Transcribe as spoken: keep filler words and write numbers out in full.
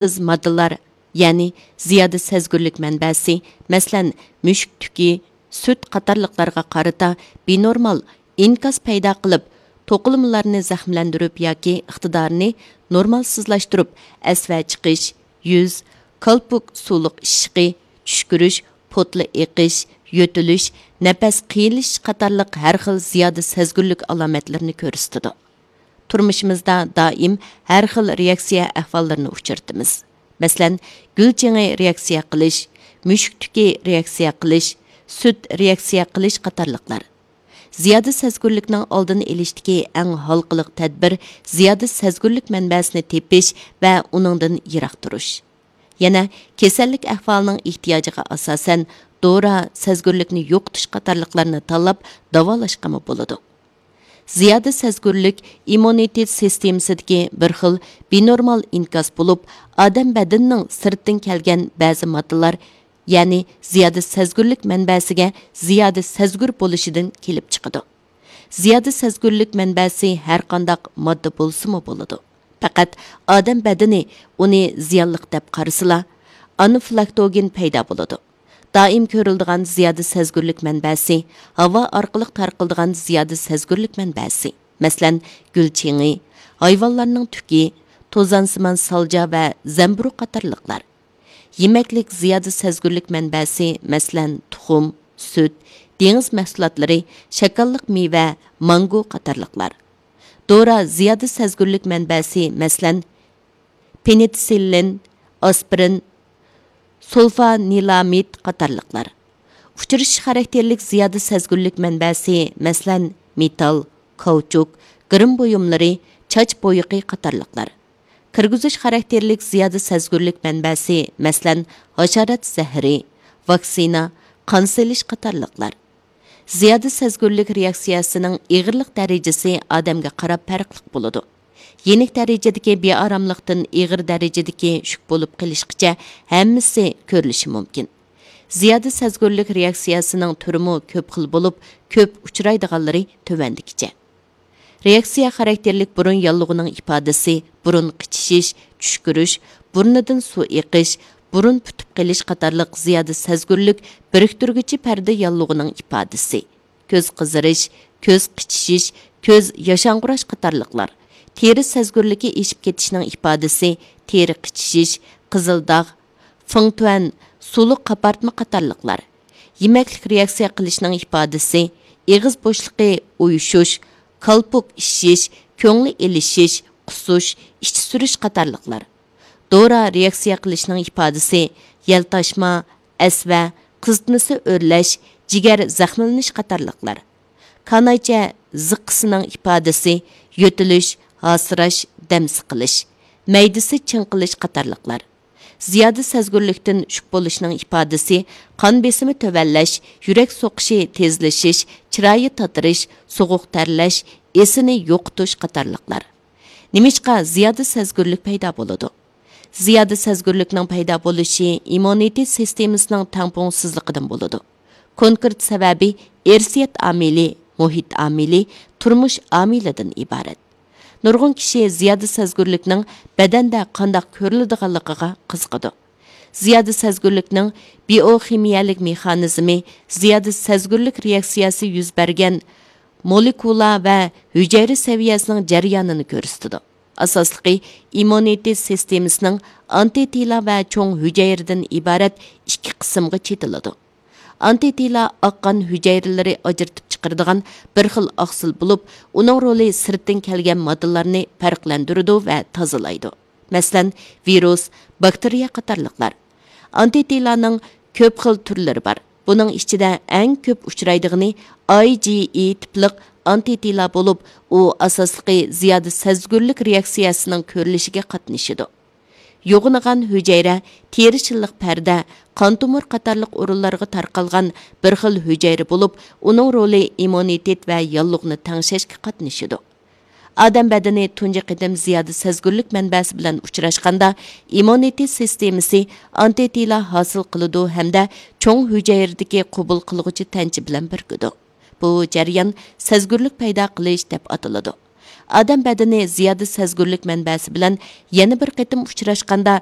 ئېغىز ماددىلار، يەنى زىيادە سەزگۈرلۈك مەنبەسى، مەسىلەن، مۈشۈك تۈكى، سۈت قاتارلىقلارغا قارىتا بىنورمال ئىنكاس پەيدا قىلىپ، توقۇلمىلارنى زەخىملەندۈرۈپ ياكى ئىقتىدارىنى نورمالسىزلاشتۇرۇپ، ئەسۋە چىقىش، يۈز، كالپۇك سۇلۇق ئىششىقى، چۈشكۈرۈش، پوتلا ئېقىش، يۆتىلىش، نەپەس قىيىنلىشىش قاتارلىق ھەر خىل زىيادە سەزگۈرلۈك ئالامەتلىرىنى كۆرسىتىدۇ. تۇرمۇشىمىزدا دائىم ھەر خىل رېئاكسىيە ئەھۋاللىرىنى ئۇچرىتىمىز. مەسىلەن، گۈل چېڭى رېئاكسىيە قىلىش، مۈشۈك تۈكى رېئاكسىيە قىلىش، سۈت رېئاكسىيە قىلىش قاتارلىقلار. زىيادە سەزگۈرلۈكنىڭ ئالدىنى ئېلىشتىكى ئەڭ ھالقىلىق تەدبىر زىيادە سەزگۈرلۈك مەنبەسىنى تېپىش ۋە ئۇنىڭدىن يىراق تۇرۇش. يەنە كېسەللىك ئەھۋالىنىڭ ئېھتىياجىغا ئاساسەن، دورا، سەزگۈرلۈكنى يوقىتىش قاتارلىقلارنى تاللاپ داۋالاشقىمۇ بولىدۇ. زىيادە سەزگۈرلۈك ئىممۇنىتېت سىستېمىسىدىكى بىر خىل بىنورمال ئىنكاس بولۇپ، ئادەم بەدىنىنىڭ سىرتتىن كەلگەن بەزى ماددىلار، يەنى زىيادە سەزگۈرلۈك مەنبەسىگە زىيادە سەزگۈر بولۇشىدىن كېلىپ چىقىدۇ. زىيادە سەزگۈرلۈك مەنبەسى ھەر قانداق ماددا بولسىمۇ بولىدۇ. پەقەت ئادەم بەدىنى ئۇنى زىيانلىق دەپ قارىسىلا، ئانافىلاكتوگېن پەيدا بولىدۇ. دائىم كۆرۈلىدىغان زىيادە سەزگۈرلۈك مەنبەسى، ھاۋا ئارقىلىق تارقىلىدىغان زىيادە سەزگۈرلۈك مەنبەسى، مەسىلەن، گۈل چېڭى، ھايۋانلارنىڭ تۈكى، توزانسىمان سالجا ۋە زەمبۇرۇغ قاتارلىقلار. يېمەكلىك زىيادە سەزگۈرلۈك مەنبەسى، مەسىلەن، تۇخۇم، سۈت، دېڭىز مەھسۇلاتلىرى، شاكاللىق مېۋە، مانگو قاتارلىقلار. دورا زىيادە سەزگۈرلۈك مەنبەسى، مەسىلەن، پېنىتسىللىن، ئاسپىرىن، سۇلفانىلامىد قاتارلىقلار. ئۇچرىشىش خاراكتېرلىك زىيادە سەزگۈرلۈك مەنبەسى، مەسىلەن، مېتال، كاۋچۇك، گىرىم بۇيۇملىرى، چاچ بويىقى قاتارلىقلار. كىرگۈزۈش خاراكتېرلىك زىيادە سەزگۈرلۈك مەنبەسى، مەسىلەن، ھاشارات زەھىرى، ۋاكسىنا، قان سېلىش قاتارلىقلار. زىيادە سەزگۈرلۈك رېئاكسىيەسىنىڭ ئېغىرلىق دەرىجىسى ئادەمگە قاراپ پەرقلىق بولىدۇ. يېنىك دەرىجىدىكى بىئاراملىقتىن ئېغىر دەرىجىدىكى شۈك بولۇپ قېلىشقىچە ھەممىسى كۆرۈلۈشى مۇمكىن. زىيادە سەزگۈرلۈك رېئاكسىيەسىنىڭ تۈرىمۇ كۆپ خىل بولۇپ، كۆپ ئۇچرايدىغانلىرى تۆۋەندىكىچە. رېئاكسىيە خاراكتېرلىك بۇرۇن ياللۇغىنىڭ ئىپادىسى، بۇرۇن قىچىشىش، چۈشكۈرۈش، بۇرنىدىن سۇ ئېقىش، بۇرۇن پۈتۈپ قېلىش قاتارلىق زىيادە سەزگۈرلۈك بىرىكتۈرگۈچى پەردە ياللۇغىنىڭ ئىپادىسى. كۆز قىزىرىش، كۆز قىچىشىش، كۆز ياشاڭغۇراش قاتارلىقلار. تېرە سەزگۈرلۈكى ئېشىپ كېتىشنىڭ ئىپادىسى، تېرە قىچىشىش، قىزىل داغ، فېڭتۈەن، سۇلۇق قاپارتما قاتارلىقلار. يېمەكلىك رېئاكسىيە قىلىشنىڭ ئىپادىسى، ئېغىز بوشلۇقى ئۇيۇشۇش، كالپۇك ئىششىش، كۆڭلى ئېلىشىش، قۇسۇش، ئىچى سۈرۈش قاتارلىقلار. دورا رېئاكسىيە قىلىشنىڭ ئىپادىسى، يەلتاشما، ئەسۋە، قىزىتمىسى ئۆرلەش، جىگەر زەخىملىنىش قاتارلىقلار. كانايچە زىققىسىنىڭ ئىپادىسى، يۆتىلىش، ھاسىراش، دەم سىقىلىش، مەيدىسى چىڭقىلىش قاتارلىقلار. زىيادە سەزگۈرلۈكتىن شۈك بولۇشنىڭ ئىپادىسى، قان بېسىمى تۆۋەنلەش، يۈرەك سوقۇشى تېزلىشىش، چىرايى تاتىرىش، سوغۇق تەرلەش، ئېسىنى يوقىتىش قاتارلىقلار. نېمىشقا زىيادە سەزگۈرلۈك پەيدا بولىدۇ؟ زىيادە سەزگۈرلۈكنىڭ پەيدا بولۇشى ئىممۇنىتېت سىستېمىسىنىڭ تەڭپۇڭسىزلىقىدىن بولىدۇ. كونكرېت سەۋەبى ئىرسىيەت ئامىلى، مۇھىت ئامىلى، تۇرمۇش ئامىلىدىن ئىبارەت. نۇرغۇن كىشى زىيادە سەزگۈرلۈكنىڭ بەدەندە قانداق كۆرۈلىدىغانلىقىغا قىزىقىدۇ. زىيادە سەزگۈرلۈكنىڭ بىئوخىمىيەلىك مېخانىزمى زىيادە سەزگۈرلۈك رېئاكسىيەسى يۈز بەرگەن مولېكۇلا ۋە ھۈجەيرە سەۋىيەسىنىڭ جەريانىنى كۆرسىتىدۇ. ئاساسلىقى، ئىممۇنىتېت سىستېمىسىنىڭ ئانتىتىلا ۋە چوڭ ھۈجەيرىدىن ئىبارەت ئىككى قىسىمغا چېتىلىدۇ. ئانتىتىلا ئاق قان ھۈجەيرىلىرى ئاجرىتىپ چىقىرىدىغان بىر خىل ئاقسىل بولۇپ، ئۇنىڭ رولى سىرتتىن كەلگەن ماددىلارنى پەرقلەندۈرىدۇ ۋە تازىلايدۇ. مەسىلەن، ۋىرۇس، باكتېرىيە قاتارلىقلار. ئانتىتىلانىڭ كۆپ خىل تۈرلىرى بار. بۇنىڭ ئىچىدە ئەڭ كۆپ ئۇچرايدىغىنى ئاي جى ئى تىپلىق ئانتىتىلا بولۇپ، ئۇ ئاساسلىقى زىيادە سەزگۈرلۈك رېئاكسىيەسىنىڭ كۆرۈلۈشىگە قاتنىشىدۇ. يوغىنىغان ھۈجەيرە تېرە شىللىق پەردە، قان تومۇر قاتارلىق ئورۇنلارغا تارقالغان بىر خىل ھۈجەيرە بولۇپ، ئۇنىڭ رولى ئىممۇنىتېت ۋە ياللۇغنى تەڭشەشكە قاتنىشىدۇ. ئادەم بەدىنى تۇنجى قېتىم زىيادە سەزگۈرلۈك مەنبەسى بىلەن ئۇچراشقاندا، ئىممۇنىتېت سىستېمىسى ئانتىتىلا ھاسىل قىلىدۇ ھەمدە چوڭ ھۈجەيرىدىكى قوبۇل قىلغۇچى تەنچە بىلەن بىرىكىدۇ. بۇ جەريان سەزگۈرلۈك پەيدا قىلىش دەپ ئاتىلىدۇ. ئادەم بەدىنى زىيادە سەزگۈرلۈك مەنبەسى بىلەن يەنە بىر قېتىم ئۇچراشقاندا،